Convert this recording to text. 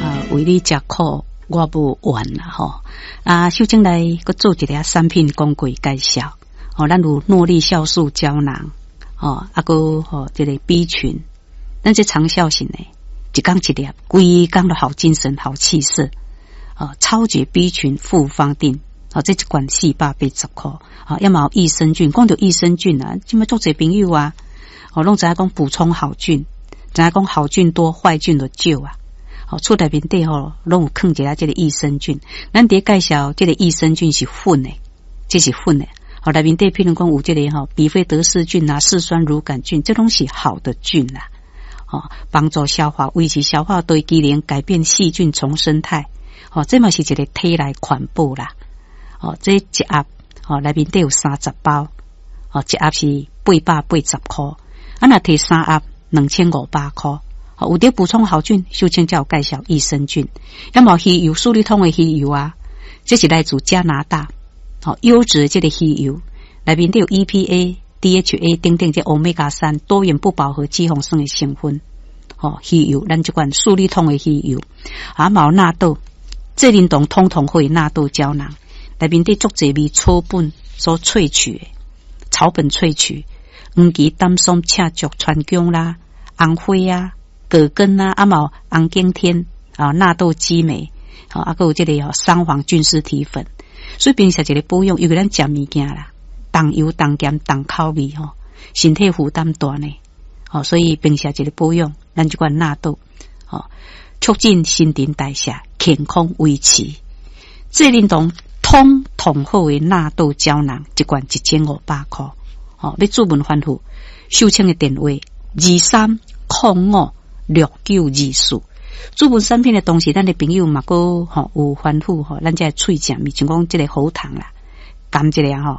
啊，為你食苦，我無怨啦吼。啊，秀清來閣做一个產品廣告介紹。哦，咱有諾麗酵素膠囊，哦，啊閣吼這个 B 群，咱這長效型的，一工一粒，規工都好精神、好氣色。哦，超級 B 群複方錠，哦，這一罐480箍。哦，抑嘛有益生菌，講著益生菌啊，這馬足濟朋友啊，哦，攏知影講補充好菌，知影講好菌多，壞菌就少啊。哦，厝內面底吼，攏有囥一下這个益生菌。咱佇咧介紹這个益生菌是粉的，這是粉的。哦，內面底譬如講有這个吼比菲德氏菌啊、嗜酸乳桿菌，這攏是好的菌啦。哦，幫助消化、維持消化道機能、改變細菌叢生態。哦，這嘛是一个體內環保啦。哦，這一盒哦內面底有30包，哦，一盒是880箍。啊，若提三盒2500箍。哦，有佇補充好菌，秀清才有介紹益生菌。抑嘛魚油，舒利通的魚油啊，這是來自加拿大，哦，優質的這个魚油，內面底有 EPA、DHA 等等這歐米伽三多元不飽和脂肪酸的成分。哦，魚油，咱這款舒利通的魚油，啊，嘛有納豆，濟寧堂通通會納豆膠囊，內面底足濟味草本所萃取的，草本萃取，黃芪、丹參、赤石、川薑啦、紅花啊、葛根啊，啊嘛有紅景天啊、納豆激酶，啊，閣有這个桑黃菌絲體粉，所以平時一个保養，尤其咱食物件啦，重油、重鹹、重口味吼，身體負擔大呢，哦，所以平時一个保養，咱這款納豆，哦，促進新陳代謝，健康維持。濟寧堂通通好的納豆膠囊，一罐1500箍，哦，欲諮問吩咐，秀清的電話23056924。諮問產品的同時，咱的朋友嘛閣吼有吩咐吼，咱這喙食物，像講這个喉糖啦，含一个吼。